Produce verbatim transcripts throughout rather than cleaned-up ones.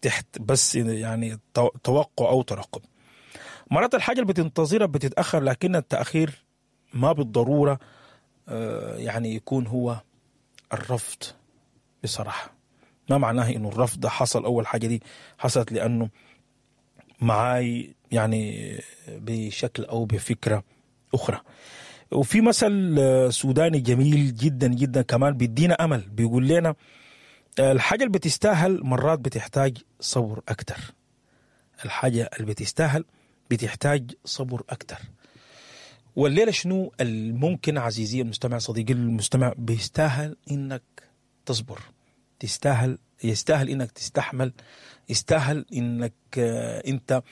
تحت بس يعني توقع او ترقب. مرات الحاجة اللي بتنتظرها بتتاخر، لكن التاخير ما بالضرورة يعني يكون هو الرفض. بصراحة ما معناه انه الرفض حصل اول حاجة دي حصلت لانه معاي يعني بشكل او بفكره اخرى. وفي مثل سوداني جميل جدا جدا كمان بيدينا امل، بيقول لنا الحاجة اللي بتستاهل مرات بتحتاج صبر اكتر. الحاجة اللي بتستاهل بتحتاج صبر اكتر. والليلة شنو الممكن عزيزي المستمع، صديقي المستمع، بيستاهل انك تصبر، تستاهل، يستاهل انك تستحمل، يستاهل انك انت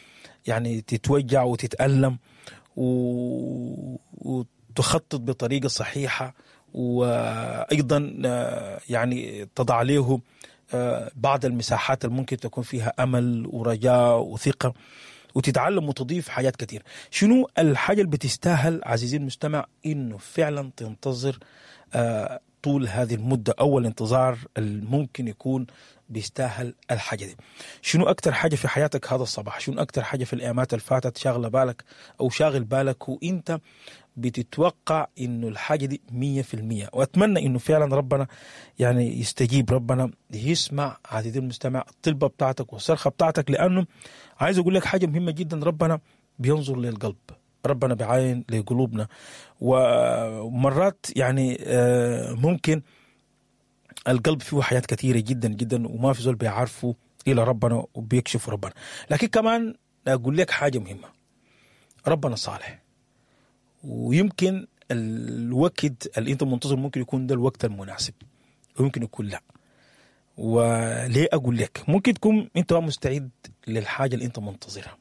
يعني تتوجع وتتألم وتخطط بطريقة صحيحة، وأيضا يعني تضع عليه بعض المساحات اللي ممكن تكون فيها أمل ورجاء وثقة، وتتعلم وتضيف حاجات كتير. شنو الحاجة اللي بتستاهل عزيزي المستمع إنه فعلا تنتظر طول هذه المدة، أول انتظار الممكن يكون بيستاهل الحاجة دي؟ شنو أكتر حاجة في حياتك هذا الصباح؟ شنو أكتر حاجة في الأيامات اللي فاتت شاغلة بالك أو شاغل بالك وإنت بتتوقع إنه الحاجة دي مية في المية؟ وأتمنى إنه فعلا ربنا يعني يستجيب، ربنا يسمع عزيزي المستمع الطلبة بتاعتك والصرخة بتاعتك، لأنه عايز أقول لك حاجة مهمة جدا، ربنا بينظر للقلب، ربنا بعاين لقلوبنا. ومرات يعني ممكن القلب فيه حاجات كثيرة جدا جدا وما في زول بيعرفه إلى ربنا وبيكشف ربنا. لكن كمان أقول لك حاجة مهمة، ربنا صالح، ويمكن الوقت اللي انت منتظر ممكن يكون ده الوقت المناسب ويمكن يكون لا. وليه أقول لك؟ ممكن تكون انت مستعد للحاجة اللي انت منتظرها،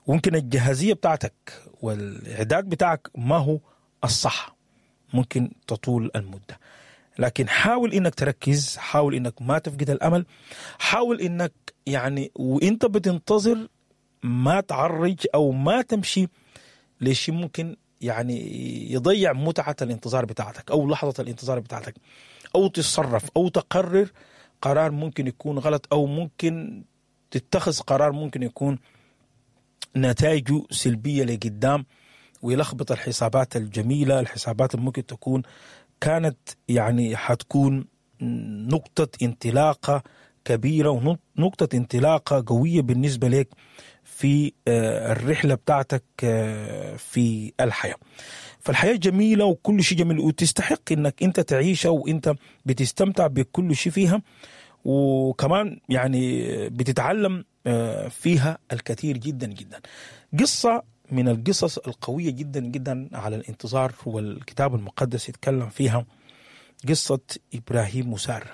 وممكن الجاهزية بتاعتك والإعداد بتاعك ما هو الصح، ممكن تطول المدة. لكن حاول إنك تركز، حاول إنك ما تفقد الأمل، حاول إنك يعني وإنت بتنتظر ما تعرج أو ما تمشي ليش ممكن يعني يضيع متعة الانتظار بتاعتك أو لحظة الانتظار بتاعتك، أو تتصرف أو تقرر قرار ممكن يكون غلط، أو ممكن تتخذ قرار ممكن يكون نتائجه سلبية لقدام ويلخبط الحسابات الجميلة، الحسابات اللي ممكن تكون كانت يعني حتكون نقطة انطلاقة كبيرة ونقطة انطلاقة قوية بالنسبة لك في الرحلة بتاعتك في الحياة. فالحياة جميلة وكل شيء جميل وتستحق انك انت تعيشها وانت بتستمتع بكل شيء فيها، وكمان يعني بتتعلم فيها الكثير جدا جدا. قصة من القصص القوية جدا جدا على الانتظار والكتاب المقدس يتكلم فيها، قصة إبراهيم وسارة،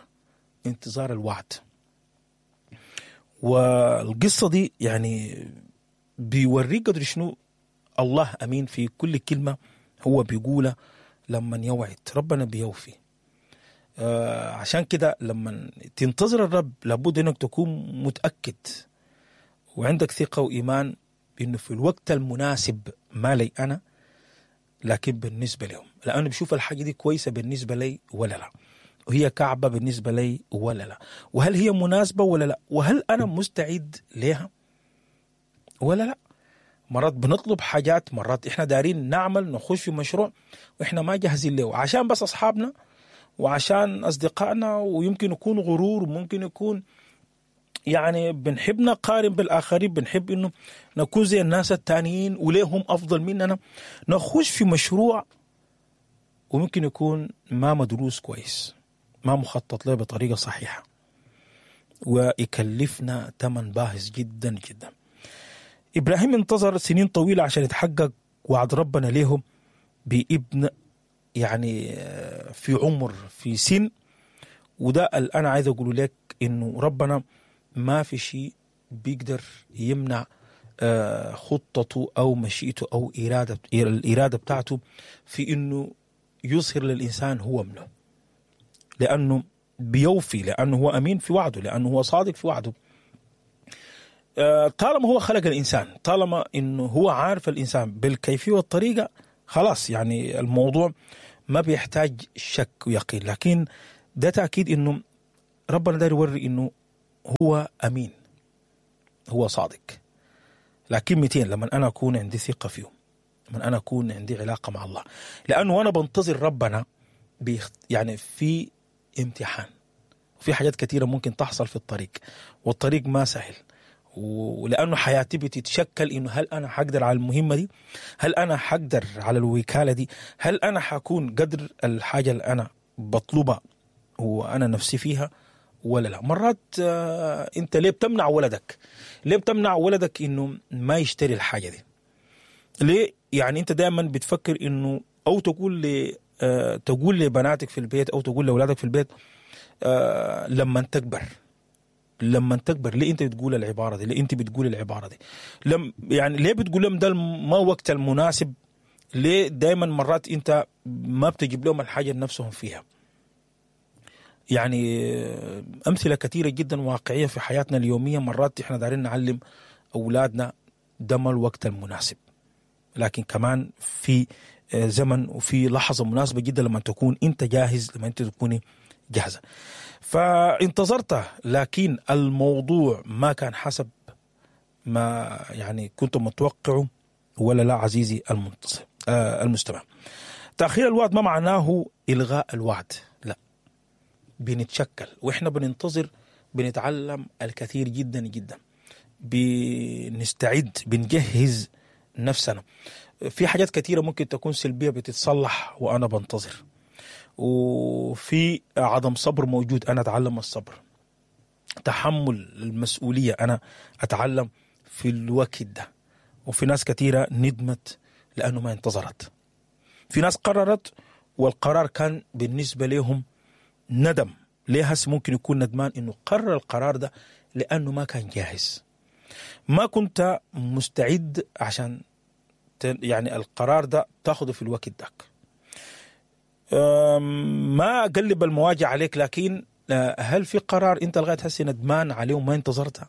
انتظار الوعد. والقصة دي يعني بيوريك قدر شنو الله أمين في كل كلمة هو بيقولها لما يوعد، ربنا بيوفي. آه عشان كده لما تنتظر الرب لابد انك تكون متأكد وعندك ثقة وإيمان بأنه في الوقت المناسب، ما لي أنا لكن بالنسبة لهم، لأنه بشوف الحاجة دي كويسة بالنسبة لي ولا لا، وهي كعبة بالنسبة لي ولا لا، وهل هي مناسبة ولا لا، وهل أنا مستعد لها ولا لا. مرات بنطلب حاجات، مرات إحنا دارين نعمل نخش في مشروع وإحنا ما جاهزين له، عشان بس أصحابنا وعشان أصدقائنا، ويمكن يكون غرور، وممكن يكون يعني بنحب نقارن بالآخرين، بنحب إنه نكون زي الناس التانيين وليهم أفضل مننا، نخش في مشروع وممكن يكون ما مدروس كويس، ما مخطط له بطريقة صحيحة، ويكلفنا ثمن باهظ جدا جدا. إبراهيم انتظر سنين طويلة عشان يتحقق وعد ربنا لهم بابن يعني في عمر في سن. وده اللي أنا عايز أقوله لك، إنه ربنا ما في شيء بيقدر يمنع خطته أو مشيئته أو إرادة الإرادة بتاعته في إنه يظهر للإنسان هو منه، لأنه بيوفي، لأنه هو أمين في وعده، لأنه هو صادق في وعده. طالما هو خلق الإنسان، طالما إنه هو عارف الإنسان بالكيفية والطريقة، خلاص يعني الموضوع ما بيحتاج شك ويقين. لكن ده تأكيد إنه ربنا داير يوري إنه هو أمين، هو صادق. لكن متين؟ لما أنا أكون عندي ثقة فيه، لما أنا أكون عندي علاقة مع الله. لأنه وأنا بنتظر ربنا بيخ... يعني في امتحان، وفي حاجات كثيرة ممكن تحصل في الطريق، والطريق ما سهل. ولأنه حياتي بتتشكل إنه هل أنا حقدر على المهمة دي؟ هل أنا حقدر على الوكالة دي؟ هل أنا حكون قدر الحاجة اللي أنا بطلبها وأنا نفسي فيها ولا لا؟ مرات آه أنت ليه بتمنع ولدك؟ ليه بتمنع ولدك إنه ما يشتري الحاجة دي؟ ليه؟ يعني أنت دائما بتفكر إنه أو تقول ل آه تقول لبناتك في البيت أو تقول لأولادك في البيت آه لما تكبر، لما تكبر. ليه انت بتقول العبارة دي؟ ليه انت بتقول العبارة دي؟ لم يعني ليه بتقول لهم ده ما وقت المناسب؟ ليه دايما مرات انت ما بتجيب لهم الحاجة نفسهم فيها؟ يعني امثلة كثيرة جدا واقعية في حياتنا اليومية. مرات احنا دارين نعلم اولادنا ده ما الوقت المناسب، لكن كمان في زمن وفي لحظة مناسبة جدا لما تكون انت جاهز، لما انت تكوني جاهزة. فانتظرت، لكن الموضوع ما كان حسب ما يعني كنت متوقعه ولا لا عزيزي المنتصر آه المستمع. تأخير الوعد ما معناه إلغاء الوعد، لا، بنتشكل وإحنا بننتظر، بنتعلم الكثير جدا جدا، بنستعد، بنجهز نفسنا. في حاجات كثيرة ممكن تكون سلبية بتتصلح وأنا بنتظر، وفي عدم صبر موجود، أنا أتعلم الصبر، تحمل المسؤولية أنا أتعلم في الوقت ده. وفي ناس كثيرة ندمت لأنه ما انتظرت، في ناس قررت والقرار كان بالنسبة لهم ندم. ليه هسه ممكن يكون ندمان إنه قرر القرار ده؟ لأنه ما كان جاهز، ما كنت مستعد عشان يعني القرار ده تاخده في الوقت داك. ما أقلب المواجع عليك، لكن هل في قرار أنت لغاية هسه ندمان عليه وما انتظرته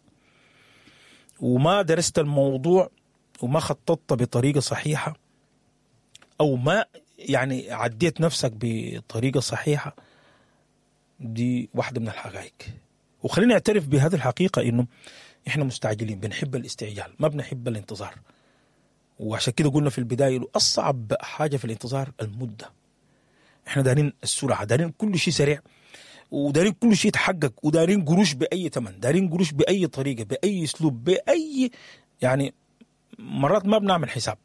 وما درست الموضوع وما خططت بطريقة صحيحة، أو ما يعني عديت نفسك بطريقة صحيحة؟ دي واحدة من الحقائق. وخلينا نعترف بهذه الحقيقة إنه إحنا مستعجلين، بنحب الاستعجال، ما بنحب الانتظار. وعشان كده قلنا في البداية أصعب حاجة في الانتظار المدة. احنا دارين السرعة، دارين كل شيء سريع، ودارين كل شيء يتحقق، ودارين قروش بأي ثمن، دارين قروش بأي طريقة، بأي أسلوب، بأي يعني مرات ما بنعمل حساب،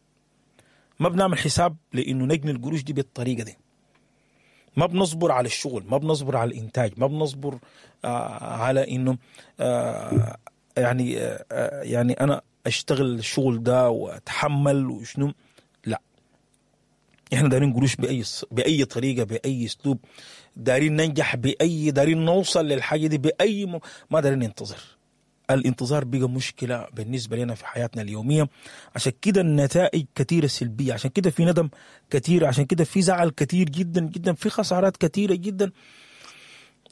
ما بنعمل حساب لأنه نجني القروش دي بالطريقة دي. ما بنصبر على الشغل، ما بنصبر على الإنتاج، ما بنصبر آه على إنه آه يعني آه يعني أنا أشتغل الشغل ده وأتحمل وشنو. لا، احنا دارين قروش بأي بأي طريقة، بأي أسلوب، دارين ننجح بأي، دارين نوصل للحاجة دي بأي م... ما دارين ننتظر. الانتظار بقى مشكلة بالنسبة لنا في حياتنا اليومية. عشان كده النتائج كثيرة سلبية، عشان كده في ندم كثير، عشان كده في زعل كثير جدا جدا، في خسارات كثيرة جدا،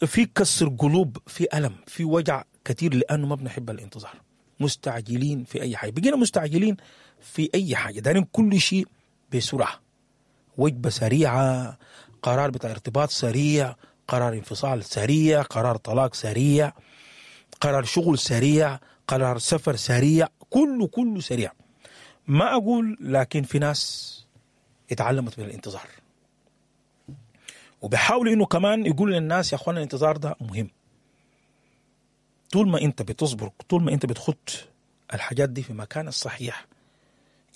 في كسر قلوب، في ألم، في وجع كثير، لأنه ما بنحب الانتظار. مستعجلين في أي حاجة، بقينا مستعجلين في أي حاجة، دارين كل شيء بسرعة، وجبة سريعة، قرار بتاع ارتباط سريع، قرار انفصال سريع، قرار طلاق سريع، قرار شغل سريع، قرار سفر سريع، كله كله سريع. ما أقول، لكن في ناس اتعلمت من الانتظار، وبيحاولوا إنه كمان يقول للناس يا أخوانا الانتظار ده مهم. طول ما أنت بتصبر، طول ما أنت بتخط الحاجات دي في مكان الصحيح،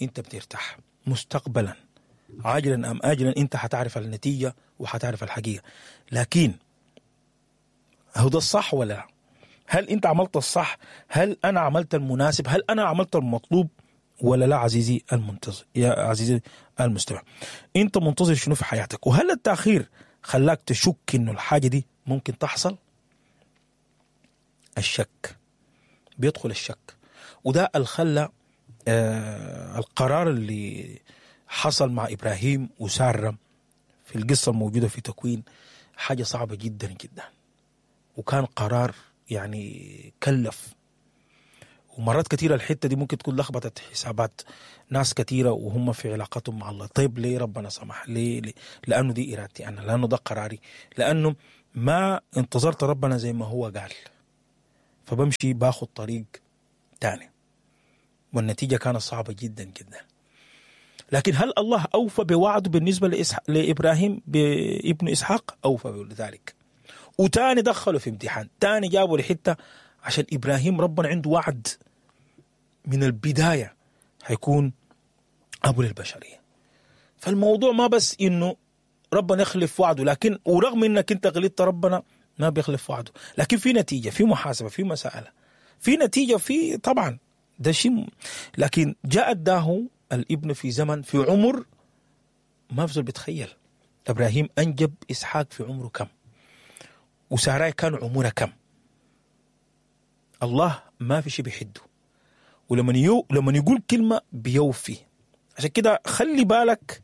أنت بترتاح مستقبلا، عاجلا أم آجلا أنت هتعرف النتيجة وهتعرف الحقيقة. لكن هو ده الصح ولا لا؟ هل أنت عملت الصح؟ هل أنا عملت المناسب؟ هل أنا عملت المطلوب ولا لا؟ عزيزي المنتظر، يا عزيزي المستمع، أنت منتظر شنو في حياتك؟ وهل التأخير خلاك تشك إنه الحاجة دي ممكن تحصل؟ الشك بيدخل الشك، وده اللي خلى آه القرار اللي حصل مع إبراهيم وسارة في القصة الموجودة في تكوين حاجة صعبة جدا جدا، وكان قرار يعني كلف. ومرات كثيرة الحتة دي ممكن تكون لخبطت حسابات ناس كثيرة وهم في علاقتهم مع الله. طيب ليه ربنا سمح؟ ليه؟ ليه؟ لأنه دي إرادتي أنا، لأنه ده قراري، لأنه ما انتظرت ربنا زي ما هو قال، فبمشي باخد طريق تاني، والنتيجة كانت صعبة جدا جدا. لكن هل الله أوفى بوعده بالنسبة لإسح... لإبراهيم بابن إسحاق؟ أوفى بذلك. وتاني دخلوا في امتحان، تاني جابوا لحتة عشان إبراهيم ربنا عنده وعد من البداية هيكون أبو للبشرية. فالموضوع ما بس إنه ربنا يخلف وعده، لكن ورغم إنك أنت غلطت ربنا ما بيخلف وعده، لكن في نتيجة، في محاسبة، في مسألة، في نتيجة، في طبعا ده شيء. لكن جاء اداه الابن في زمن، في عمر ما في بيتخيل. إبراهيم أنجب إسحاق في عمره كم، وساراي كان عمرها كم. الله ما في شيء بيحده، ولما يو لما يقول كلمة بيوفي. عشان كده خلي بالك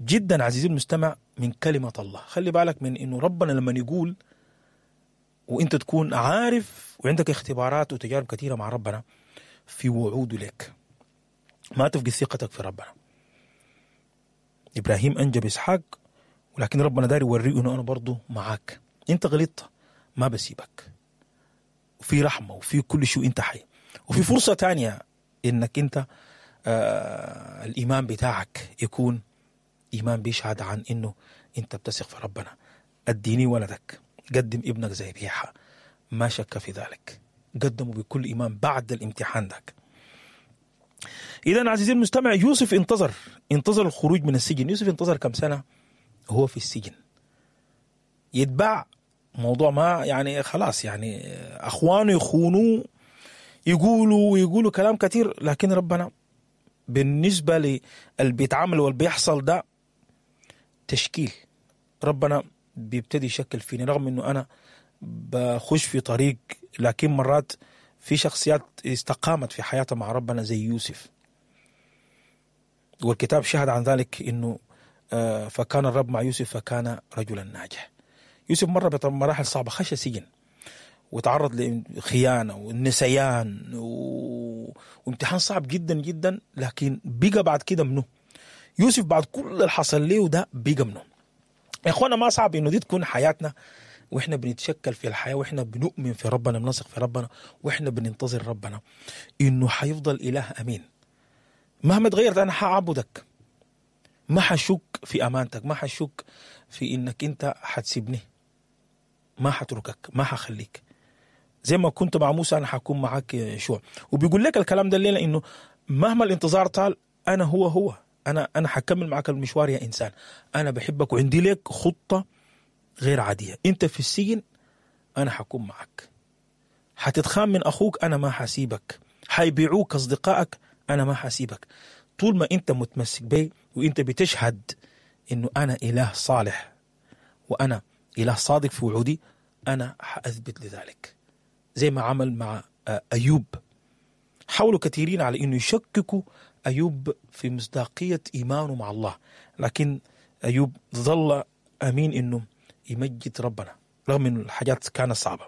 جدا عزيزي المستمع من كلمة الله، خلي بالك من إنه ربنا لما يقول وإنت تكون عارف وعندك اختبارات وتجارب كثيرة مع ربنا في وعوده لك، ما تفقد ثقتك في ربنا. إبراهيم أنجب إسحاق، ولكن ربنا داري يوريه إنه أنا برضو معاك، أنت غلطت ما بسيبك، وفي رحمة وفي كل شيء، أنت حي، وفي فرصة تانية إنك أنت آه الإيمان بتاعك يكون إيمان بيشهد عن إنه أنت بتثق في ربنا. أديني ولدك، قدم ابنك زي ذبيحة، ما شك في ذلك، قدمه بكل إيمان بعد الامتحان ذاك. إذن عزيزي المستمع، يوسف انتظر انتظر الخروج من السجن. يوسف انتظر كم سنة هو في السجن يتباع، موضوع ما يعني خلاص، يعني أخوانه يخونوه، يقولوا ويقولوا كلام كثير، لكن ربنا بالنسبة للي بيتعامل واللي بيحصل ده تشكيل، ربنا بيبتدي يشكل فيني، رغم انه انا بخش في طريق، لكن مرات في شخصيات استقامت في حياتها مع ربنا زي يوسف، والكتاب شهد عن ذلك انه فكان الرب مع يوسف فكان رجلا ناجح. يوسف مر بمراحل صعبة، خش سجن وتعرض لخيانة والنسيان و... وامتحان صعب جدا جدا، لكن بقى بعد كده منه يوسف بعد كل اللي حصل له ده بقى منه. يا اخوانا ما صعب انه دي تكون حياتنا، واحنا بنتشكل في الحياة، واحنا بنؤمن في ربنا، بنثق في ربنا، واحنا بننتظر ربنا انه حيفضل اله امين. مهما تغيرت انا حاعبدك، ما حشك في امانتك، ما حشك في انك انت حتسيبني، ما حتركك، ما حخليك. زي ما كنت مع موسى انا حكون معاك يا يشوع. وبيقول لك الكلام ده الليله انه مهما الانتظار طال انا هو هو انا انا حكمل معاك المشوار يا انسان، انا بحبك وعندي لك خطه غير عاديه. انت في السجن انا حكون معك، حتتخان من اخوك انا ما حسيبك، حيبيعوك اصدقائك انا ما حسيبك. طول ما انت متمسك بي وانت بتشهد انه انا اله صالح وانا اله صادق في وعودي، انا حاثبت لذلك. زي ما عمل مع ايوب، حاولوا كثيرين على انه يشككوا ايوب في مصداقيه ايمانه مع الله، لكن ايوب ظل امين انه يمجد ربنا رغم انه الحاجات كانت صعبه.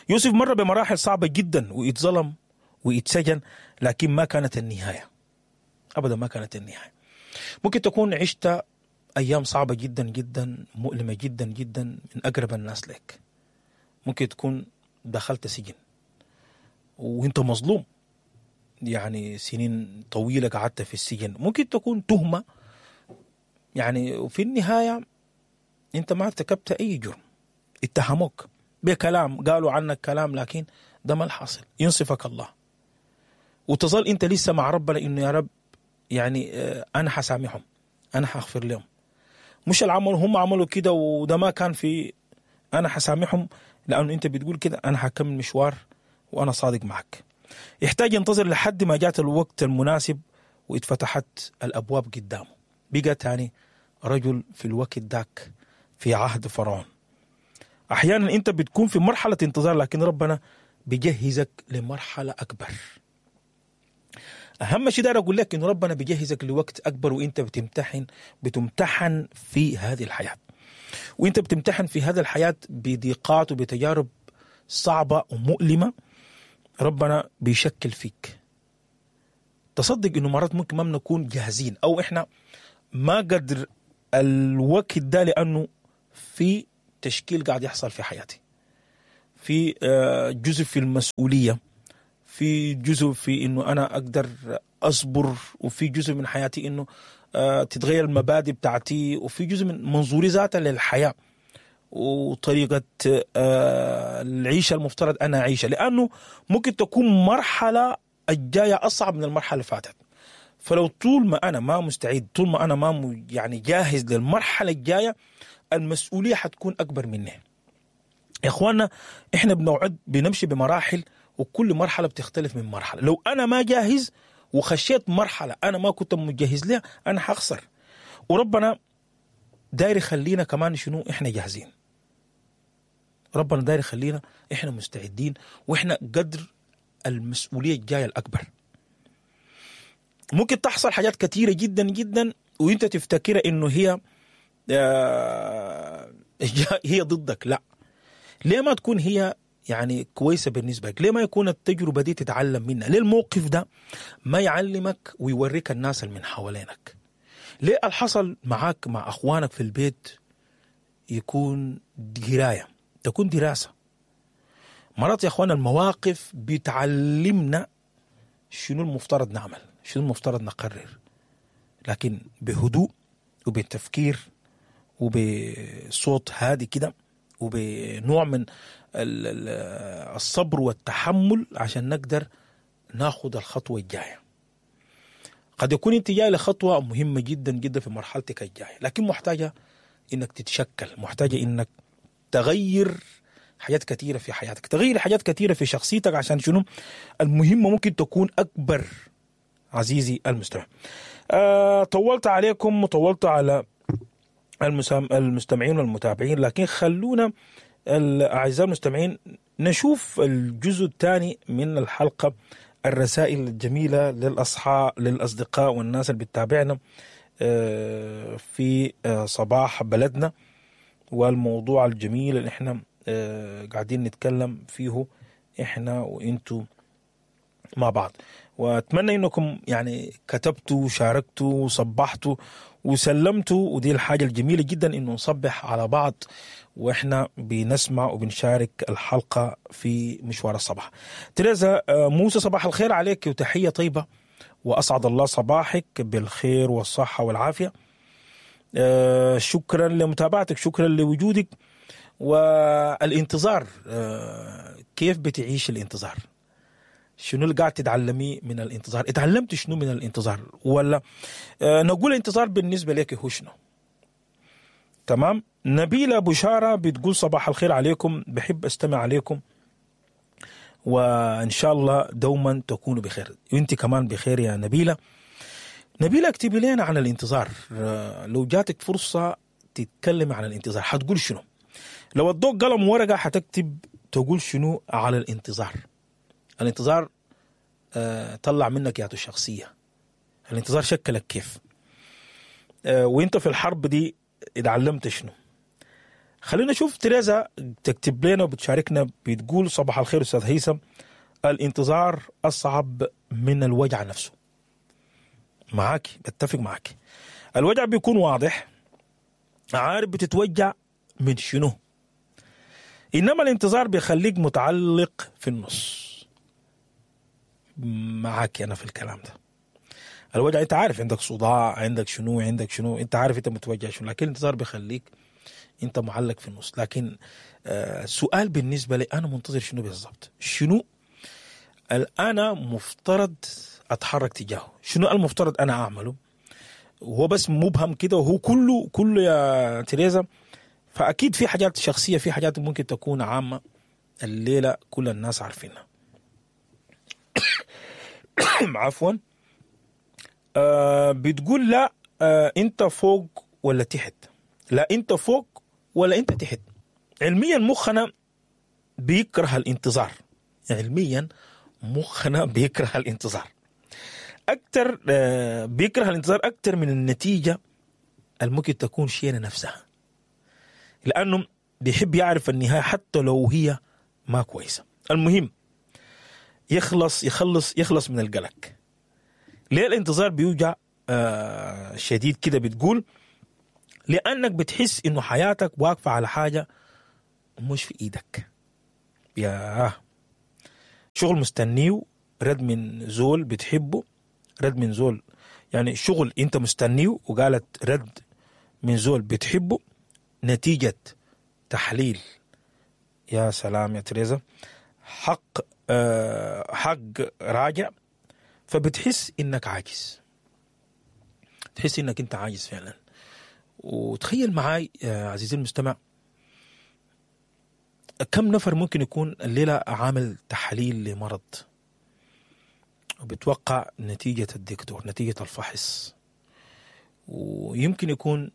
يوسف مر بمراحل صعبه جدا واتظلم واتسجن، لكن ما كانت النهايه، ابدا ما كانت النهايه. ممكن تكون عشت ايام صعبه جدا جدا، مؤلمه جدا جدا من اقرب الناس لك. ممكن تكون دخلت سجن وانت مظلوم، يعني سنين طويله قعدت في السجن. ممكن تكون تهمه، يعني وفي النهايه انت ما ارتكبت اي جرم، اتهموك بكلام، قالوا عنك كلام، لكن ده ما الحاصل. ينصفك الله وتظل انت لسه مع ربنا انه يا رب يعني انا حسامحهم، انا حغفر لهم، مش العمل هم عملوا كده وده ما كان في، انا حسامحهم لانه انت بتقول كده، انا حكمل مشوار وانا صادق معك. يحتاج ينتظر لحد ما جات الوقت المناسب واتفتحت الابواب قدامه. بقى تاني رجل في الوقت داك في عهد فرعون. احيانا انت بتكون في مرحله انتظار، لكن ربنا بيجهزك لمرحله اكبر. اهم شيء داير اقول لك انه ربنا بيجهزك لوقت اكبر، وانت بتمتحن بتمتحن في هذه الحياه، وانت بتمتحن في هذه الحياه بضيقات وبتجارب صعبه ومؤلمه. ربنا بيشكل فيك. تصدق انه مرات ممكن ما بنكون جاهزين، او احنا ما قدر الوقت ده، لانه في تشكيل قاعد يحصل في حياتي، في جزء في المسؤوليه، في جزء في انه انا اقدر اصبر، وفي جزء من حياتي انه آه تتغير المبادئ بتاعتي، وفي جزء من منظوري ذاته للحياة وطريقه آه العيشة المفترض انا اعيشها، لانه ممكن تكون مرحلة الجاية اصعب من المرحلة اللي فاتت. فلو طول ما انا ما مستعد، طول ما انا ما يعني جاهز للمرحلة الجاية، المسؤولية حتكون اكبر مني. يا اخوانا احنا بنوعد بنمشي بمراحل، وكل مرحلة بتختلف من مرحلة. لو انا ما جاهز وخشيت مرحلة انا ما كنت مجهز لها، انا حخسر. وربنا داير يخلينا كمان شنو؟ احنا جاهزين. ربنا داير يخلينا احنا مستعدين، واحنا قدر المسؤولية الجاية الاكبر. ممكن تحصل حاجات كثيرة جدا جدا وانت تفتكر انه هي آه هي ضدك. لا، ليه ما تكون هي يعني كويسة بالنسبة لك؟ ليه ما يكون التجربة دي تتعلم منها؟ ليه الموقف ده ما يعلمك ويوريك الناس اللي من حوالينك؟ ليه الحصل معاك مع اخوانك في البيت يكون دراية، تكون دراسة؟ مرات يا اخوان المواقف بتعلمنا شنو المفترض نعمل، شنو المفترض نقرر، لكن بهدوء وبتفكير وبصوت هادي كده وبنوع من الصبر والتحمل عشان نقدر ناخد الخطوة الجاية. قد يكون انت جاي لخطوة مهمة جدا جدا في مرحلتك الجاية، لكن محتاجة انك تتشكل، محتاجة انك تغير حاجات كثيرة في حياتك، تغير حاجات كثيرة في شخصيتك، عشان شنو؟ المهمة ممكن تكون أكبر. عزيزي المستمع، أه طولت عليكم وطولت على المستمعين والمتابعين، لكن خلونا الأعزاء المستمعين نشوف الجزء الثاني من الحلقة، الرسائل الجميلة للأصحاب للأصدقاء والناس اللي بتتابعنا في صباح بلدنا، والموضوع الجميل اللي احنا قاعدين نتكلم فيه احنا وانتو مع بعض. واتمنى انكم يعني كتبتوا وشاركتوا وصبحتوا وسلمتوا، ودي الحاجة الجميلة جدا انه نصبح على بعض واحنا بنسمع وبنشارك الحلقة في مشوار الصباح. تريزا موسى، صباح الخير عليك وتحية طيبة، واسعد الله صباحك بالخير والصحة والعافية. شكرا لمتابعتك، شكرا لوجودك. والانتظار، كيف بتعيش الانتظار؟ شنو اللي قاعد تتعلمي من الانتظار؟ اتعلمت شنو من الانتظار؟ ولا آه نقول الانتظار بالنسبة لك هو شنو؟ تمام. نبيلة بشارة بتقول صباح الخير عليكم، بحب استمع عليكم وإن شاء الله دوما تكونوا بخير. وانت كمان بخير يا نبيلة. نبيلة اكتبي لنا عن الانتظار، آه لو جاتك فرصة تتكلم عن الانتظار حتقول شنو؟ لو ادوك قلم ورقة حتكتب تقول شنو على الانتظار؟ الانتظار آه طلع منك ياتو الشخصية، الانتظار شكلك كيف، آه وانت في الحرب دي اتعلمت شنو؟ خلينا نشوف تريزا تكتب لنا وبتشاركنا، بتقول صباح الخير أستاذ هيثم، الانتظار أصعب من الوجع نفسه. معاك، بتفق معاك. الوجع بيكون واضح، عارف بتتوجع من شنو، إنما الانتظار بيخليك متعلق في النص. معاك أنا في الكلام ده. الوجع أنت عارف عندك صداع، عندك شنو، عندك شنو، أنت عارف أنت متوجع شنو، لكن الانتظار بيخليك أنت معلق في النص. لكن آه سؤال بالنسبة لي، أنا منتظر شنو بالضبط؟ شنو أنا مفترض أتحرك تجاهه؟ شنو المفترض أنا أعمله؟ وهو بس مبهم كده، وهو كله كله يا تريزا. فأكيد في حاجات شخصية، في حاجات ممكن تكون عامة الليلة كل الناس عارفينها. عفوا. آه بتقول لا، آه انت فوق ولا تحت؟ لا انت فوق ولا انت تحت. علميا مخنا بيكره الانتظار، علميا مخنا بيكره الانتظار اكتر، آه بيكره الانتظار اكتر من النتيجة الممكن تكون شينة نفسها، لانه بيحب يعرف النهاية حتى لو هي ما كويسة. المهم يخلص يخلص يخلص من القلق. ليه الانتظار بيوجع آه شديد كده؟ بتقول لأنك بتحس إنه حياتك واقفة على حاجة مش في إيدك. يا شغل مستنيه، رد من زول بتحبه، رد من زول يعني شغل انت مستنيه، وقالت رد من زول بتحبه، نتيجة تحليل. يا سلام يا تريزا، حق آه حق راجع. فبتحس انك عاجز، تحس انك انت عاجز فعلا. وتخيل معاي يا عزيزي المستمع كم نفر ممكن يكون الليلة عامل تحليل لمرض وبتوقع نتيجة الدكتور، نتيجة الفحص. ويمكن يكون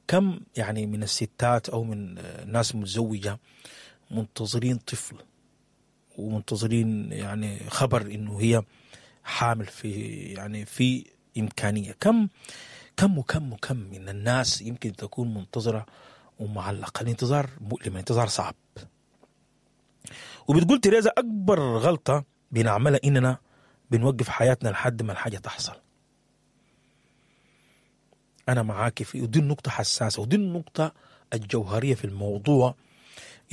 كم يعني من الستات أو من ناس متزوجة منتظرين طفل ومنتظرين يعني خبر إنه هي حامل، في يعني في إمكانية. كم كم وكم وكم من الناس يمكن تكون منتظرة ومعلقة. الانتظار مؤلم، الانتظار صعب. وبتقول تريزا أكبر غلطة بنعملها إننا بنوقف حياتنا لحد ما الحاجة تحصل. أنا معاك في، ودي النقطة حساسة، ودي النقطة الجوهرية في الموضوع،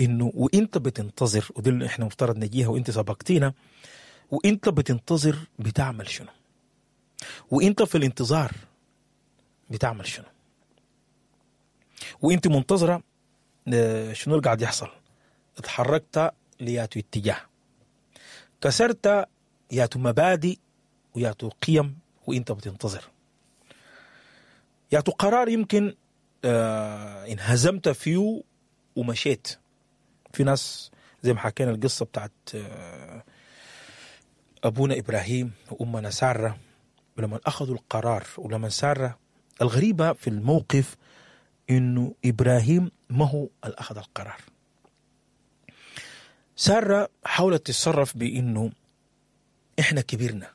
إنه وإنت بتنتظر، ودي اللي إحنا مفترض نجيها وإنت سبقتينا، وإنت بتنتظر بتعمل شنو؟ وإنت في الانتظار بتعمل شنو؟ وإنت منتظرة شنو اللي قاعد يحصل؟ اتحركت لياتو اتجاه، كسرت ياتو مبادئ وياتو قيم وإنت بتنتظر، ياتو قرار يمكن آه انهزمت فيه ومشيت. في ناس زي ما حكينا القصة بتاعت آه أبونا إبراهيم وأمنا سارة، ولما أخذوا القرار ولما سارة، الغريبة في الموقف إنه إبراهيم ما هو اللي أخذ القرار. سارة حاولت تتصرف بإنه إحنا كبرنا،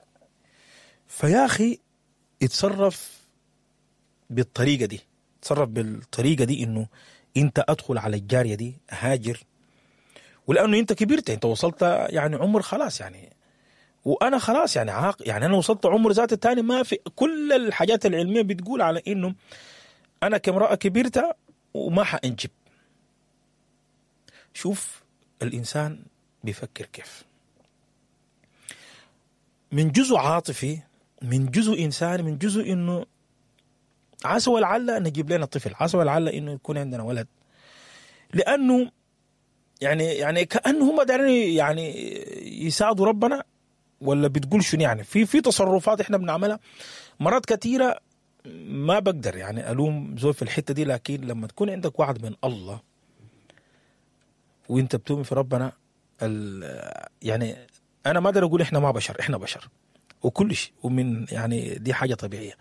فيا أخي اتصرف بالطريقة دي، اتصرف بالطريقة دي إنه أنت أدخل على الجارية دي هاجر، ولأنه أنت كبرت، أنت وصلت يعني عمر خلاص يعني، وأنا خلاص يعني عاق، يعني أنا وصلت عمر ذات التاني، ما في كل الحاجات العلمية بتقول على إنه أنا كامرأة كبرت وما حأنجب. شوف الإنسان بيفكر كيف، من جزء عاطفي، من جزء إنساني، من جزء إنه عسى ولعل نجيب لنا طفل، عسى ولعل إنه يكون عندنا ولد، لأنه يعني يعني كأنه هم دارين يعني يساعدوا ربنا، ولا بتقول شنو يعني؟ في في تصرفات إحنا بنعملها مرات كثيرة ما بقدر يعني ألوم زول في الحتة دي، لكن لما تكون عندك وعد من الله وانت بتؤمن في ربنا، يعني أنا ما أقدر أقول إحنا ما بشر، إحنا بشر وكل شيء، ومن يعني دي حاجة طبيعية.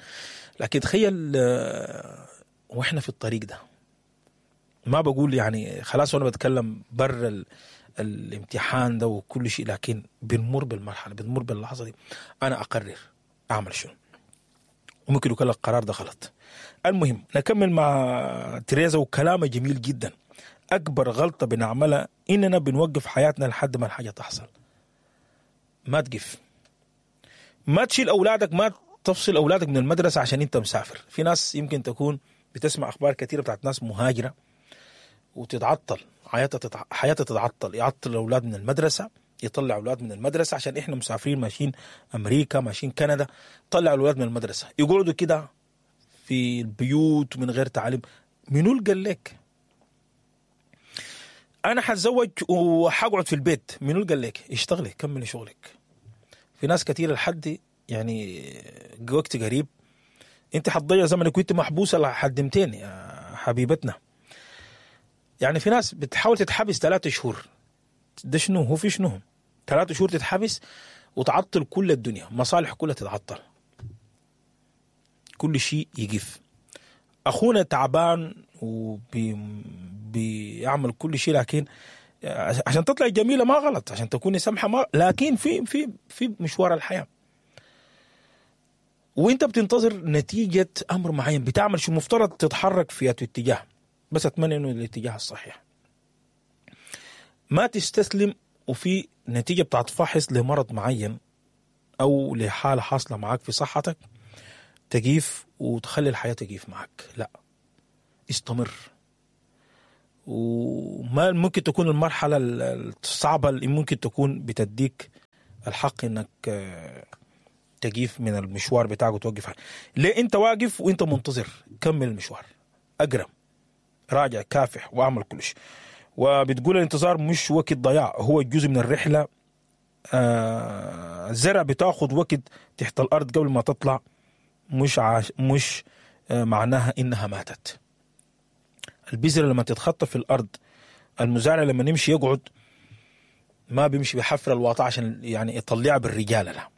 لكن تخيل وإحنا في الطريق ده، ما بقول يعني خلاص وأنا بتكلم بر ال الامتحان ده وكل شيء، لكن بنمر بالمرحلة، بنمر باللحظة دي، أنا أقرر أعمل شنو، وممكن يكون القرار ده غلط. المهم نكمل مع تريزا وكلامه جميل جدا. أكبر غلطة بنعملها إننا بنوقف حياتنا لحد ما الحاجة تحصل. ما تقف، ما تشيل أولادك، ما تفصل أولادك من المدرسة عشان أنت مسافر. في ناس يمكن تكون بتسمع أخبار كثيرة بتاعت ناس مهاجرة وتتعطل حياتها، تتع... حياتها تتعطل، يعطل الأولاد من المدرسة، يطلع أولاد من المدرسة عشان إحنا مسافرين ماشيين أمريكا ماشيين كندا، طلع الأولاد من المدرسة يقعدوا كده في البيوت من غير تعليم. منو اللي قال لك أنا حتزوج وحقعد في البيت؟ منو اللي قال لك؟ اشتغلي، كملي شغلك. في ناس كثير لحد يعني وقت قريب انت حتضيع زمنك وانت محبوسة لحد متين يا حبيبتنا. يعني في ناس بتحاول تتحبس ثلاثة شهور، ده شنو هو؟ في شنو ثلاثة شهور تتحبس وتعطل كل الدنيا، مصالح كلها تتعطل، كل شيء يقف. أخونا تعبان وبيعمل كل شيء، لكن عشان تطلع جميلة ما غلط، عشان تكوني سمحة ما، لكن في في في مشوار الحياة وانت بتنتظر نتيجة أمر معين، بتعمل شو مفترض تتحرك في اتجاه، بس أتمنى إنه الاتجاه الصحيح. ما تستسلم وفي نتيجة بتاعت فحص لمرض معين أو لحالة حاصلة معاك في صحتك تجيف وتخلي الحياة تجيف معك، لا، استمر. وما ممكن تكون المرحلة الصعبة اللي ممكن تكون بتديك الحق انك تقيف من المشوار بتاعك وتوقف. ليه انت واقف وانت منتظر؟ كمل المشوار، اقرا، راجع، كافح، واعمل كل شيء. وبتقول الانتظار مش وقت ضياع، هو جزء من الرحلة. آه الزرع بتاخد وقت تحت الارض قبل ما تطلع، مش عاش مش آه معناها انها ماتت. البذرة لما تتخطى في الارض، المزارع لما يمشي يقعد ما بيمشي بحفر الواطة عشان يعني يطلعها بالرجاله، لا.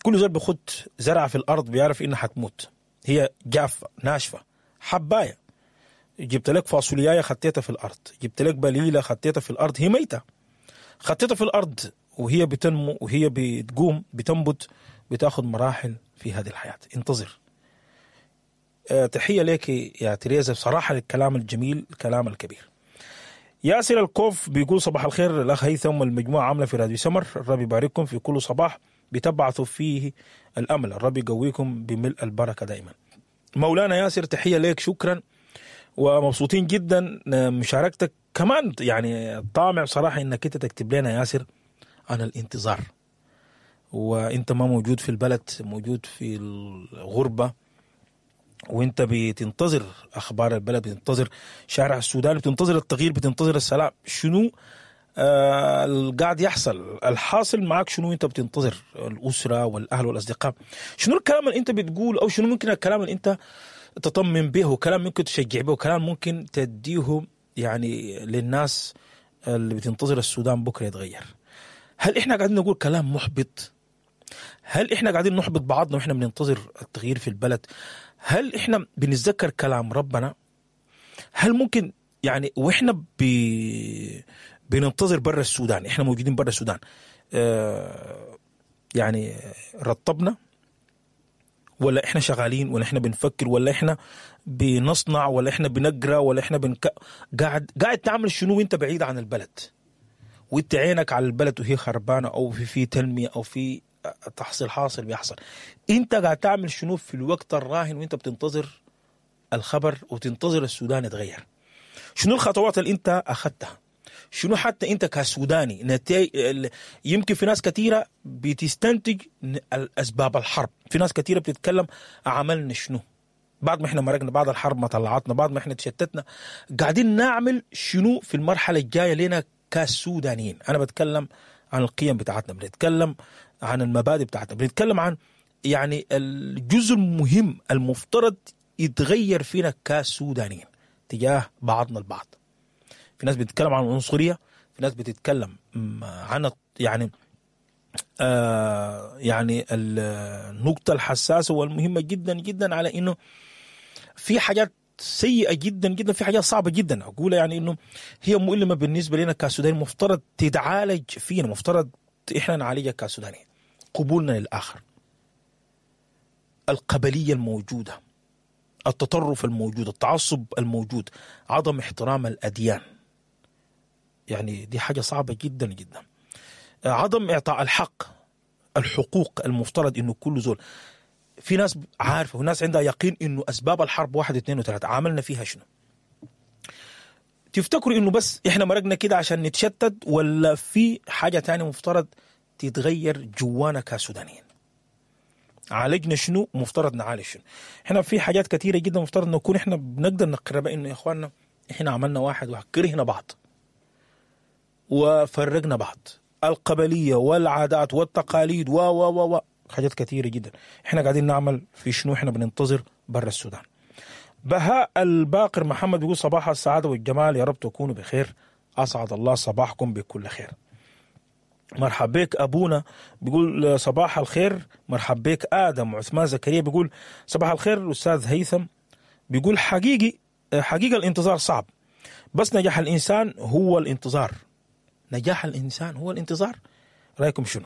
كل زول بيخد زرعه في الارض بيعرف انها حتموت، هي جافة ناشفة حبايه. جبت لك فاصوليايه خطيتها في الارض، جبت لك بليلة خطيتها في الارض، هي ميته، خطيتها في الارض وهي بتنمو وهي بتقوم بتنبت، بتاخذ مراحل في هذه الحياة. انتظر. أه تحية لك يا تريزا بصراحة للكلام الجميل، الكلام الكبير. ياسر الكوف بيقول صباح الخير الاخ هيثم والمجموعة عامله في راديو سمر، الرب يبارككم في كل صباح بتبعثوا فيه الامل، الرب يقويكم بملء البركة دائما. مولانا ياسر تحية لك، شكرا ومبسوطين جدا مشاركتك كمان. يعني طامع بصراحة انك انت تكتب لنا ياسر عن الانتظار، وانت ما موجود في البلد، موجود في الغربة، وانت بتنتظر اخبار البلد، بتنتظر شارع السودان، بتنتظر التغيير، بتنتظر السلام. شنو آه القاعد يحصل؟ الحاصل معك شنو؟ انت بتنتظر الاسرة والاهل والاصدقاء. شنو الكلام اللي انت بتقول، او شنو ممكن الكلام اللي انت تطمن به، كلام ممكن تشجع به، كلام ممكن تديه يعني للناس اللي بتنتظر السودان بكره يتغير؟ هل احنا قاعدين نقول كلام محبط؟ هل احنا قاعدين نحبط بعضنا واحنا بننتظر التغيير في البلد؟ هل احنا بنتذكر كلام ربنا؟ هل ممكن يعني واحنا بي بننتظر برا السودان، احنا موجودين برا السودان، اه يعني رطبنا، ولا احنا شغالين، ولا احنا بنفكر، ولا احنا بنصنع، ولا احنا بنقرا، ولا احنا بنك... قاعد قاعد تعمل شنو وانت بعيد عن البلد، وانت عينك على البلد وهي خربانة، او في في تنمية، او في تحصيل حاصل بيحصل؟ انت قاعد تعمل شنو في الوقت الراهن وانت بتنتظر الخبر وتنتظر السودان يتغير؟ شنو الخطوات اللي انت اخذتها؟ شنو حتى انت كسوداني نتي... يمكن في ناس كثيرة بتستنتج اسباب الحرب، في ناس كثيرة بتتكلم عملنا شنو بعد ما احنا مرقنا، بعد الحرب ما طلعتنا، بعد ما احنا تشتتنا، قاعدين نعمل شنو في المرحلة الجاية لنا كسودانيين؟ انا بتكلم عن القيم بتاعتنا، بنتكلم عن المبادئ بتاعتنا، بنتكلم عن يعني الجزء المهم المفترض يتغير فينا كسودانيين تجاه بعضنا البعض. في ناس بتتكلم عن العنصرية، في ناس بتتكلم عن يعني آه يعني النقطة الحساسة والمهمة جدا جدا على إنه في حاجات سيئة جدا جدا، في حاجات صعبة جدا أقولها يعني إنه هي مؤلمة بالنسبة لنا كسودانيين، مفترض تتعالج فينا، مفترض إحنا نعالجها كسودانيين. قبولنا للآخر، القبلية الموجودة، التطرف الموجود، التعصب الموجود، عدم احترام الأديان، يعني دي حاجة صعبة جدا جدا. عدم إعطاء الحق، الحقوق المفترض إنه كل زول، في ناس عارفة وناس عندها يقين إنه أسباب الحرب واحد اثنين وثلاثة، عملنا فيها شنو؟ تفتكروا إنه بس إحنا مرقنا كده عشان نتشتت، ولا في حاجة تانية مفترض تتغير جوانا كسودانيين؟ عالجنا شنو؟ مفترض نعالج شنو؟ إحنا في حاجات كثيرة جدا مفترض نكون إحنا بنقدر نقربها إنه يا إخواننا إحنا عملنا واحد وكرهنا بعض وفرقنا بعض، القبلية والعادات والتقاليد و و و حاجات كثيرة جدا. إحنا قاعدين نعمل في شنو؟ إحنا بننتظر برا السودان. بهاء الباقر محمد بيقول صباح السعادة والجمال، يا رب تكونوا بخير، أسعد الله صباحكم بكل خير. مرحب بك أبونا بيقول صباح الخير. مرحب بك آدم عثمان زكريا بيقول صباح الخير. أستاذ هيثم بيقول حقيقي حقيقة الانتظار صعب، بس نجاح الإنسان هو الانتظار. نجاح الإنسان هو الانتظار. رأيكم شنو؟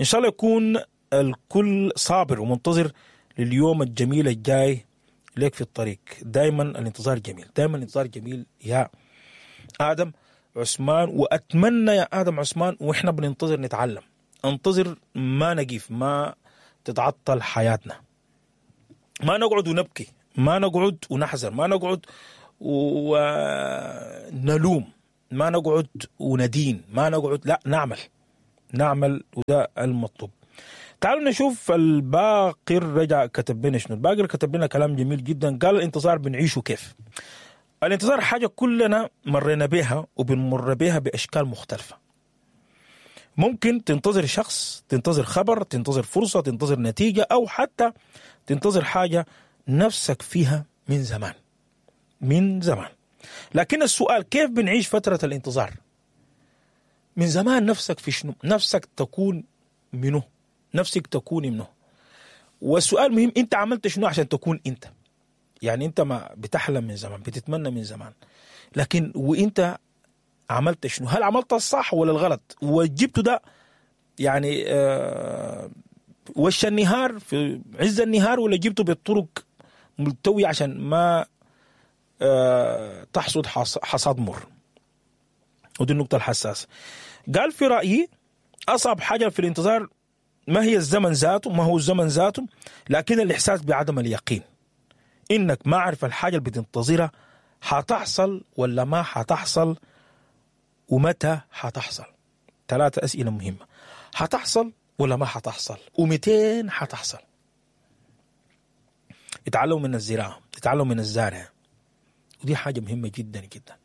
إن شاء الله يكون الكل صابر ومنتظر لليوم الجميل الجاي لك في الطريق. دايما الانتظار جميل، دايما الانتظار جميل يا آدم عثمان. وأتمنى يا آدم عثمان وإحنا بننتظر نتعلم، انتظر ما نقف، ما تتعطل حياتنا، ما نقعد ونبكي، ما نقعد ونحزن، ما نقعد ونلوم، ما نقعد وندين، ما نقعد، لا، نعمل نعمل وده المطلوب. تعالوا نشوف الباقر رجع كتب لنا شنو. الباقر كتب لنا كلام جميل جدا، قال الانتظار بنعيشه كيف. الانتظار حاجة كلنا مرينا بها وبنمر بها بأشكال مختلفة. ممكن تنتظر شخص، تنتظر خبر، تنتظر فرصة، تنتظر نتيجة، أو حتى تنتظر حاجة نفسك فيها من زمان من زمان. لكن السؤال كيف بنعيش فترة الانتظار؟ من زمان نفسك في شنو؟ نفسك تكون منه، نفسك تكون منه. والسؤال مهم، انت عملت شنو عشان تكون انت؟ يعني انت ما بتحلم من زمان، بتتمنى من زمان، لكن وانت عملت شنو؟ هل عملت الصح ولا الغلط؟ وجبته ده يعني آه وش النهار في عز النهار، ولا جبته بالطرق ملتوية عشان ما آه تحصد حصاد مر؟ ودي النقطة الحساسة. قال في رأيي أصعب حاجة في الانتظار ما هي الزمن ذاته، ما هو الزمن ذاته، لكن الإحساس بعدم اليقين، إنك ما عارف الحاجة اللي بتنتظرها حتحصل ولا ما حتحصل، ومتى حتحصل. ثلاثة أسئلة مهمة: حتحصل ولا ما حتحصل، ومتين حتحصل. اتعلموا من الزراعة، اتعلموا من الزارع، ودي حاجة مهمة جدا جدا.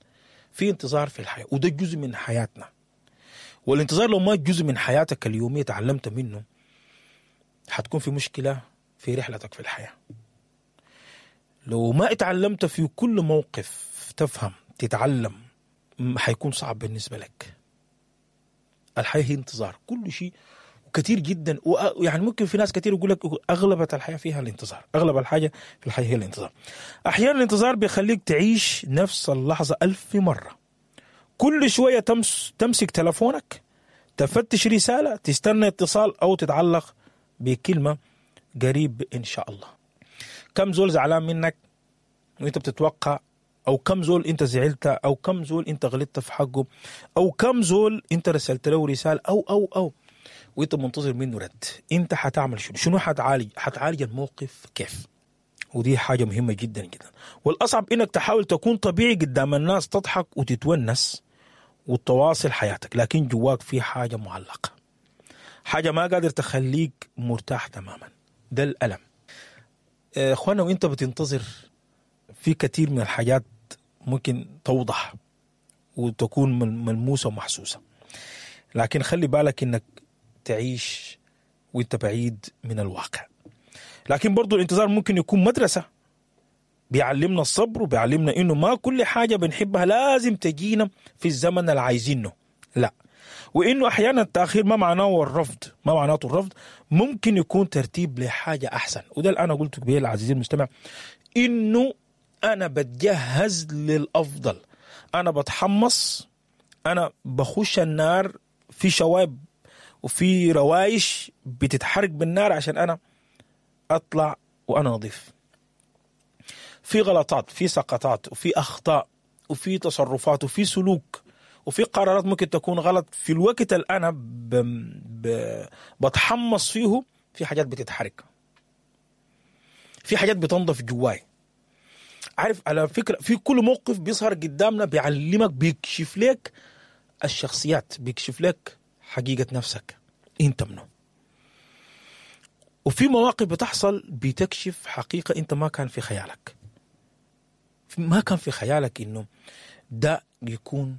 في انتظار في الحياة، وده جزء من حياتنا. والانتظار لو ما جزء من حياتك اليومية تعلمت منه، حتكون في مشكلة في رحلتك في الحياة. لو ما اتعلمت في كل موقف تفهم تتعلم، حيكون صعب بالنسبة لك. الحياة هي انتظار، كل شيء وكثير جدا. ويعني ممكن في ناس كثير يقول لك أغلب الحياة فيها الانتظار، أغلب الحاجة في الحياة هي الانتظار. أحيانا الانتظار بيخليك تعيش نفس اللحظة ألف مرة. كل شوية تمس تمسك تلفونك، تفتش رسالة، تستنى اتصال، أو تتعلق بكلمة قريب إن شاء الله. كم زول زعلان منك وانت بتتوقع، أو كم زول انت زعلت، أو كم زول انت غلطت في حقه، أو كم زول انت رسلت له رسالة، أو أو أو وانت منتظر منه رد. انت حتعمل شنو؟ شنو حتعالج؟ حتعالج الموقف كيف؟ ودي حاجة مهمة جدا جدا. والأصعب انك تحاول تكون طبيعي قدام الناس، تضحك وتتونس وتواصل حياتك، لكن جواك في حاجة معلقة، حاجة ما قادر تخليك مرتاح تماما. ده الألم اخوانا. وانت بتنتظر في كثير من الحاجات ممكن توضح وتكون ملموسة ومحسوسة، لكن خلي بالك انك تعيش وانت بعيد من الواقع. لكن برضو الانتظار ممكن يكون مدرسة، بيعلمنا الصبر، وبيعلمنا انه ما كل حاجة بنحبها لازم تجينا في الزمن اللي عايزينه، لا. وانه احيانا التأخير ما معناه الرفض، ما معناته الرفض، ممكن يكون ترتيب لحاجة احسن. وده اللي انا قلته قبل عزيزي المستمع، انه انا بتجهز للافضل، انا بتحمص، انا بخش النار، في شواب وفي روايش بتتحرق بالنار عشان انا اطلع وانا نظيف. في غلطات، في سقطات، وفي اخطاء، وفي تصرفات، وفي سلوك، وفي قرارات ممكن تكون غلط في الوقت اللي انا ب... ب... بتحمص فيه. في حاجات بتتحرك، في حاجات بتنضف جواي. عارف على فكرة في كل موقف بيظهر قدامنا بيعلمك، بيكشف لك الشخصيات، بيكشف لك حقيقة نفسك انت منه. وفي مواقف بتحصل بتكشف حقيقة انت ما كان في خيالك، ما كان في خيالك انه ده يكون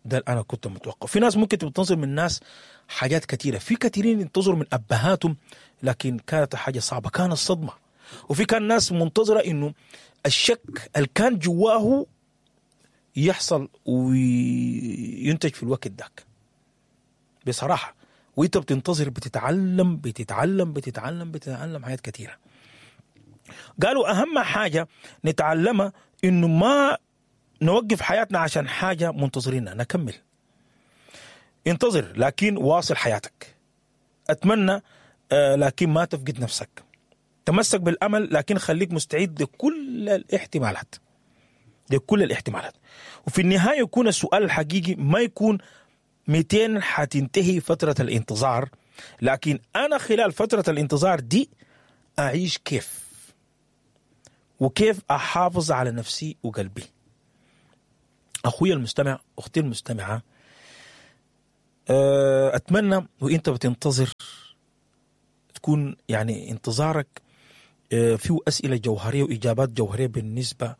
ده اللي انا كنت متوقع. في ناس ممكن تنتظر من ناس حاجات كثيرة، في كثيرين ينتظروا من ابهاتهم لكن كانت حاجة صعبة، كانت صدمة. وفي كان ناس منتظرة انه الشك اللي كان جواه يحصل وينتج في الوقت داك بصراحة. وانت بتنتظر بتتعلم بتتعلم بتتعلم بتتعلم حاجات كثيرة. قالوا أهم حاجة نتعلمها إنه ما نوقف حياتنا عشان حاجة منتظرينها، نكمل. انتظر لكن واصل حياتك. أتمنى آه لكن ما تفقد نفسك. تمسك بالأمل لكن خليك مستعد لكل الاحتمالات، لكل الاحتمالات. وفي النهاية يكون السؤال الحقيقي ما يكون مئتين حتنتهي فترة الانتظار، لكن أنا خلال فترة الانتظار دي أعيش كيف، وكيف أحافظ على نفسي وقلبي. أخوي المستمع، أختي المستمعة، اتمنى وانت بتنتظر تكون يعني انتظارك فيه اسئلة جوهرية واجابات جوهرية بالنسبة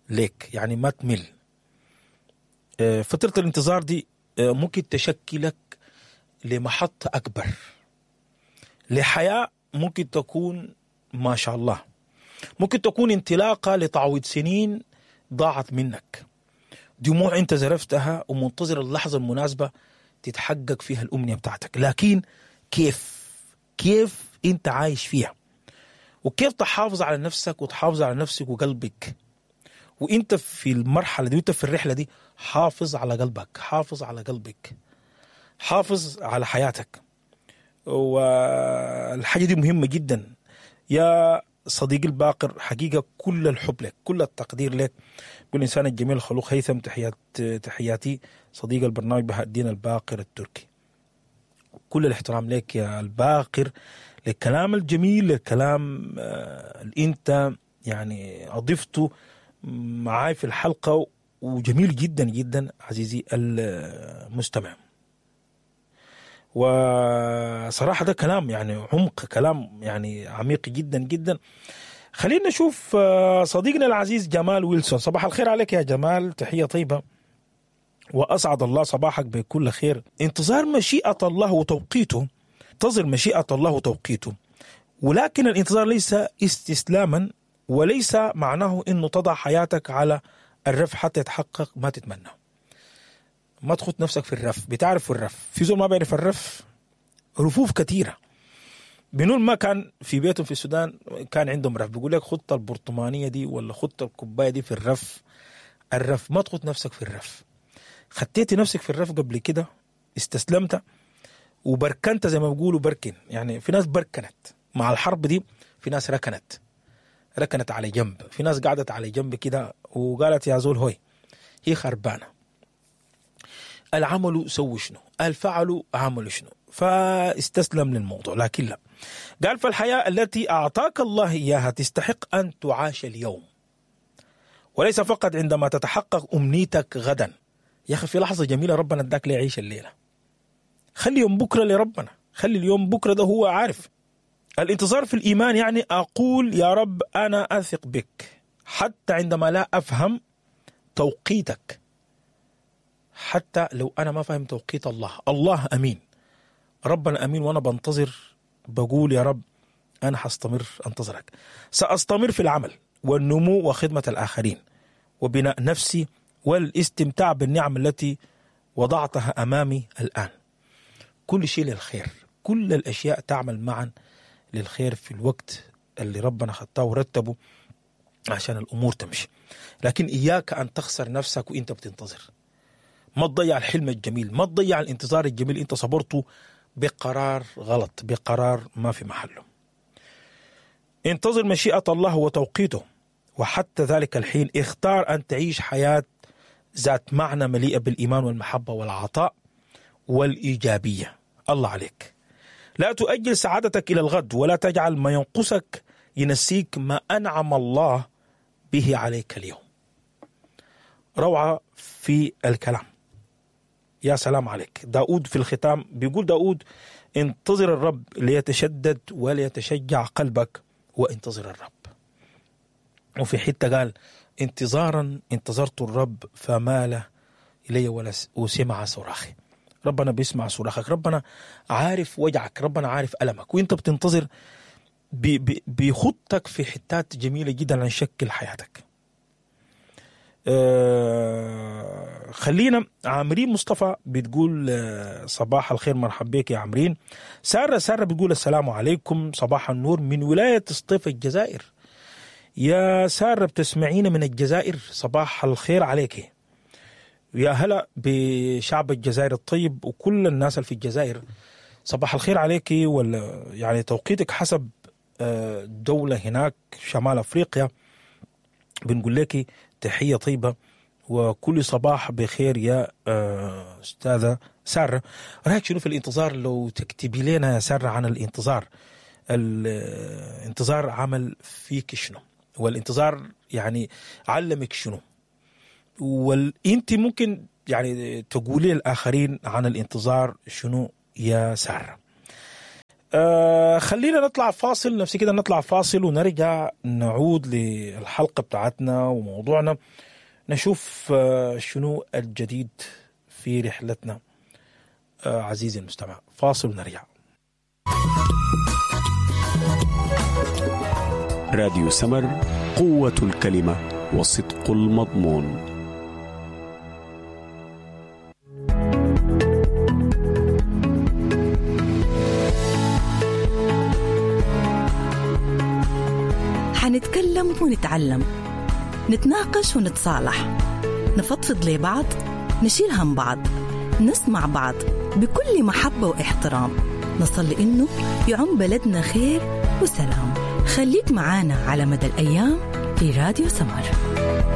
لك، يعني ما تمل. فترة الانتظار دي ممكن تشكلك لمحطه اكبر، لحياه ممكن تكون ما شاء الله، ممكن تكون انطلاقة لتعويض سنين ضاعت منك، دموع انت زرفتها ومنتظر اللحظة المناسبة تتحقق فيها الامنية بتاعتك. لكن كيف كيف انت عايش فيها، وكيف تحافظ على نفسك وتحافظ على نفسك وقلبك وانت في المرحلة دي وانت في الرحلة دي. حافظ على قلبك، حافظ على قلبك، حافظ على حياتك. والحاجة دي مهمة جدا يا صديقي الباقر، حقيقة كل الحب لك، كل التقدير لك. كل انسان الجميل الخلوق هيثم، تحيات تحياتي صديق البرنامج بهاء الدين الباقر التركي. كل الاحترام لك يا الباقر، للكلام الجميل، للكلام اللي انت يعني اضفته معاي في الحلقة، وجميل جدا جدا عزيزي المستمع. وصراحة ده كلام يعني عمق، كلام يعني عميق جدا جدا. خلينا نشوف صديقنا العزيز جمال ويلسون. صباح الخير عليك يا جمال، تحية طيبة وأسعد الله صباحك بكل خير. انتظار مشيئة الله وتوقيته، انتظر مشيئة الله وتوقيته، ولكن الانتظار ليس استسلاما، وليس معناه انه تضع حياتك على الرف حتى يتحقق ما تتمنى. ما تخط نفسك في الرف، بتعرف الرف، في زول ما بيعرف الرف، رفوف كثيرة. بنقول ما كان في بيتهم في السودان كان عندهم رف، بيقول لك خط البرطمانية دي ولا خط الكوباية دي في الرف. الرف، ما تخط نفسك في الرف. خطيتي نفسك في الرف قبل كده، استسلمت وبركنت زي ما بيقولوا بركن، يعني في ناس بركنت مع الحرب دي، في ناس ركنت ركنت على جنب، في ناس قعدت على جنب كده وقالت يا زول هوي هي خربانة. العمل سووا شنو، الفعل عملوا شنو، فاستسلم للموضوع. لكن لا، قال فالحياة التي أعطاك الله إياها تستحق أن تعاش اليوم، وليس فقط عندما تتحقق أمنيتك غدا. يا أخي في لحظة جميلة ربنا اداك ليعيش الليلة، خلي يوم بكرة لربنا، خلي اليوم بكرة ده هو عارف. الانتظار في الإيمان يعني أقول يا رب أنا أثق بك حتى عندما لا أفهم توقيتك، حتى لو أنا ما فهم توقيت الله، الله أمين، ربنا أمين، وأنا بنتظر بقول يا رب أنا حستمر أنتظرك، سأستمر في العمل والنمو وخدمة الآخرين وبناء نفسي والاستمتاع بالنعم التي وضعتها أمامي الآن. كل شيء للخير، كل الأشياء تعمل معا للخير في الوقت اللي ربنا خطاه ورتبه عشان الأمور تمشي. لكن إياك أن تخسر نفسك وإنت بتنتظر. ما تضيع الحلم الجميل، ما تضيع الانتظار الجميل انت صبرته بقرار غلط، بقرار ما في محله. انتظر مشيئة الله وتوقيته، وحتى ذلك الحين اختار أن تعيش حياة ذات معنى مليئة بالإيمان والمحبة والعطاء والإيجابية. الله عليك. لا تؤجل سعادتك إلى الغد، ولا تجعل ما ينقصك ينسيك ما أنعم الله به عليك اليوم. روعة في الكلام، يا سلام عليك. داود في الختام بيقول داود انتظر الرب ليتشدد وليتشجع قلبك وانتظر الرب. وفي حتة قال انتظارا انتظرت الرب فمال إلي ولا وسمع صراخي. ربنا بيسمع صراخك، ربنا عارف وجعك، ربنا عارف ألمك، وانت بتنتظر بي بي بيخطك في حتات جميلة جدا عن شكل حياتك. أه خلينا عامرين مصطفى بتقول صباح الخير، مرحب بك يا عامرين. سارة سارة بتقول السلام عليكم، صباح النور من ولاية سطيف الجزائر. يا سارة بتسمعينا من الجزائر، صباح الخير عليك. يا هلا بشعب الجزائر الطيب وكل الناس اللي في الجزائر، صباح الخير عليك. ولا يعني توقيتك حسب دولة هناك شمال أفريقيا، بنقول لك تحية طيبة وكل صباح بخير يا أستاذة سارة. رأيك شنو في الانتظار؟ لو تكتبي لنا يا سارة عن الانتظار، الانتظار عمل فيك شنو، والانتظار يعني علمك شنو، وانت ممكن يعني تقولي للآخرين عن الانتظار شنو يا سارة؟ آه خلينا نطلع فاصل، نفسي كده نطلع فاصل ونرجع نعود للحلقة بتاعتنا وموضوعنا، نشوف آه شنو الجديد في رحلتنا. آه عزيزي المستمع، فاصل ونرجع. راديو سمر، قوة الكلمة وصدق المضمون. حنتكلم ونتعلم، نتناقش ونتصالح، نفضفض لبعض، نشيل هم بعض، نسمع بعض بكل محبة واحترام، نصلي إنه يعم بلدنا خير وسلام. خليك معانا على مدى الأيام في راديو سمر.